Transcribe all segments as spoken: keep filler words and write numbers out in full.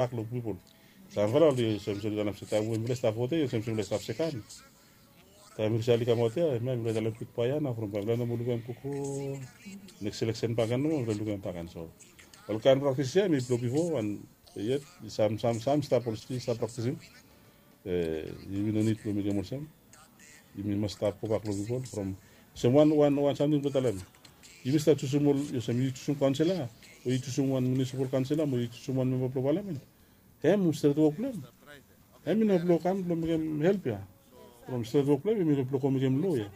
bak long pipol. Samfala oli olsem se oli kanap se taem we mifala i stap vote i olsem se mifala i stap sekan. Taem mifala i kamaot ya, hemia mifala i talem gudbae ya nao from bae mifala no moa lukim hem gogo. Neks eleksen bakegen nomo mifala lukim hem bakegen. So olkaen praktis ya hemi blong bifo and yet sam sam sam stap ol stil stap praktisim. Yumi no nid blong mekem olsem. Yumi mas stap gobak long pipol from olsem wan wan wan samting blong talem. Yumi stap jusum ol olsem yu jusum kaonsela o yu jusum wan munisipal kaonsela mo yu jusum wan memba blong palamen. Hem stret wok blong hem. Hem i no blong kam blong mekem help ya. From stret wok blong hem i no blong go mekem lo ya.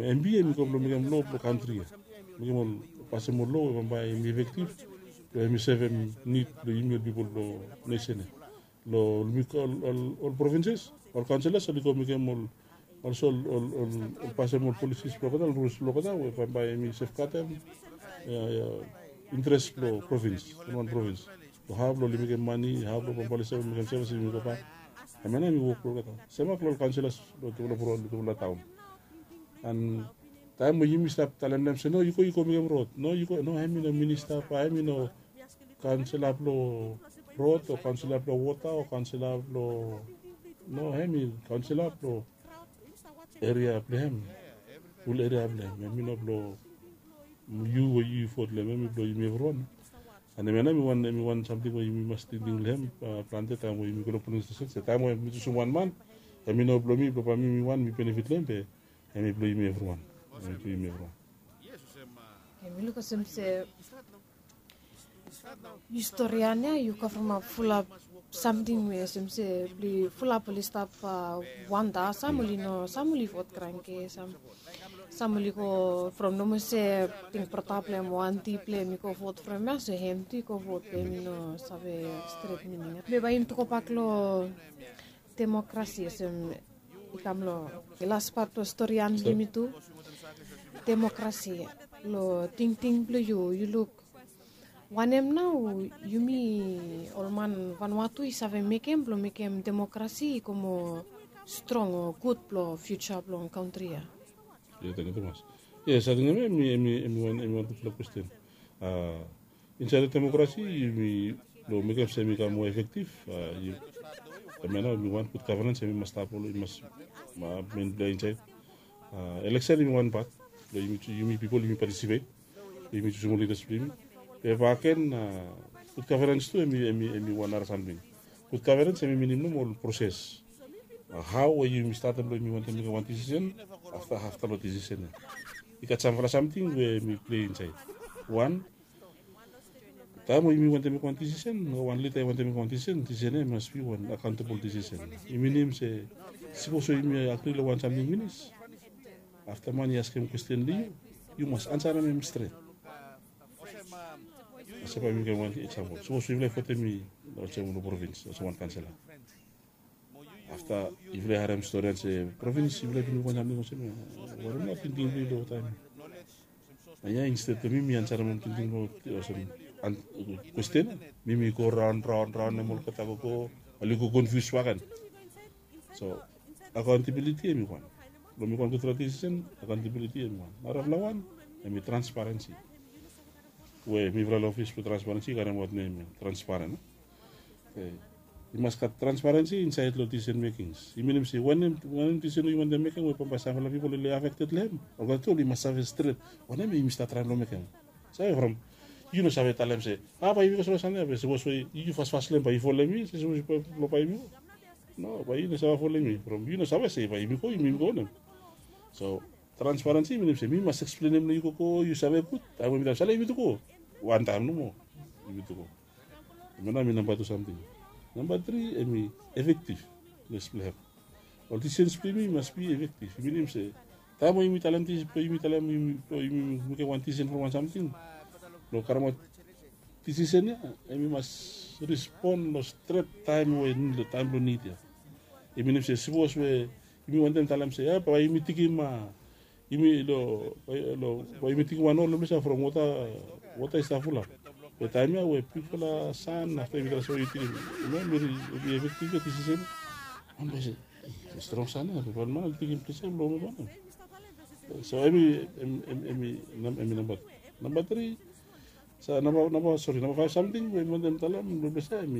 Hem bi hem i go blong mekem lo blong kantri ya. Mekem ol pasem ol lo we bambae hem i efektif blong hem i sevem nid blong yumi ol pipol blong nesen ya. Long ol provinses ol kaonselas oli go mekem ol olso ol ol ol pasem ol polisis blong olgeta ol ruls blong olgeta we bambae hem i sefgadem interes blong provins, wan provins, long hao blong oli mekem mane, hao blong bambae oli save mekem sevis, oli mekem bak. Hemia nao hem i wok blong olgeta semak long ol kaonselas long tufala taon. An taem we yumi stap talem long hem se no yu go yu go mekem rod, no yu go no hem i no minista ba hem i no kaonsela blong rod o kaonsela blong wota o kaonsela blong no hem i kaonsela blong eria blong hem. Ful eria blong hem hem i no blong yu we yu vot long hem hem i blong yumi evriwan. An hemia nao hem i wan hem i wan samting we yumi mas tingting long hem. Plante taem we yumi go long polin stesen se taem we mi jusum wan man hem i no blong mi blong bae mi mi wan mi benefit long hem be hem i blong yumi evriwan. Hem i blong yumi evriwan. Em i luk olsem se yu stori ya nao yu kavremap fulap samting we olsem se blong fulap oli stap wanda sam oli no sam oli vot kranke sam sam oli go from nomo se ting brata blong hem o anti blong hem i go vot from ya so hem tu i go vot blong hem i no save stret mining ya. Be bae yumi tu gobak long demokrasi olsem i kam long las pat blong stori ya blong yumi tu. Demokrasi long tingting blong yu yu luk wanem nao yumi ol man vanua tu i save mekem blong mekem demokrasi i go moa strong o gud blong fiuja blong kantri ya? Ia tangkiu tumas. Ia sating em em i em i em i wan em i wan gudfala kwesten. Insaed long demokrasi yumi long mekem se em i kam moa efektif. Em ya nao em i wan gud gavenans em i mas stap ol i mas men blong ya insaed. Eleksen em i wan pat blong yumi pipol yumi patisipet. Yumi jusum ol lidas blong yumi. Be baken gud gavenans tu em i em i em i wan nara samting. Gud gavenans em i minim nomo ol proses. Hao we yumi statem long yumi wantem mekem wan disisen afta afta long disisen ya i gat samfala samting we mi plei insaed. Wan taem we yumi wantem mekem wan disisen o wan lida i wantem mekem wan disisen disisen ya i mas bi wan akaontabol disisen. I minim se sipos we yumi agri long wan samting finis afta man i askem kwesten long yu yu mas ansarem hem stret. Olsem bae mi givim wan eksampol sipos yufala i votem mi olsem long provins olsem wan kansela. Afta yufala i harem stori ya se provins yufala i bin wok wan samting olsem ya. Wanem nao tingting blong yu long taem ya? Na ya insted blong mi mi ansarem ol tingting blong olsem kwesten ya mi mi go raon raon raon em olgeta gogo oli go konfius baken. So akaontabiliti em i wan blong mekem wan gudfala disisen. Akaontabiliti em i wan narafala wan em i transparensi. We mifala long ofis blong transparensi i karemaot nem ya transparen. I mas gat transparensi insaed long disisen mekings i minim se wanem wanem disisen we yu wantem mekem we bambae samfala pipol oli afekted long hem olgeta tu oli mas save stret wanem yumi stap traem long mekem. Save from yu no save talem se a bae yumi go save sande ya be sipos we yu fasfas long hem bae yu folem mi se sipos yu blong bae yumi go. No bae yu no save folem mi from yu no save se bae yumi go yumi go wanem. So transparensi i minim se mi mas eksplenem long yu gogo yu save gud taem we mi talem sale yumi tu go. Wantaem nomo yumi tu go. Em ya nao em i namba tu samting. Namba tri em i efektif. Ples blong hem ol disisens blong yumi i mas bi efektif i minim se taem we yumi talem disisen blong yumi talem yumi blong yumi mekem wan disisen from wan samting blong karemaot disisen ya em i mas rispon long stret taem we long taem blong nid ya. I minim se sipos we yumi wantem talem se ya bae yumi tikim a yumi long bae yumi tikim wan ol long ples ya from wota wota i stap fulap. Be taem ya we bigfala san afta yumi talem se we yu tikim em ya em i efektif ya disisen ya. Wan bae se strong san ya bigfala man oli tikim ples ya blong mekem wanem? So em i em i em i namba tri. Sa namba namba sori namba faef samting we mi wantem talem blong blesem mi.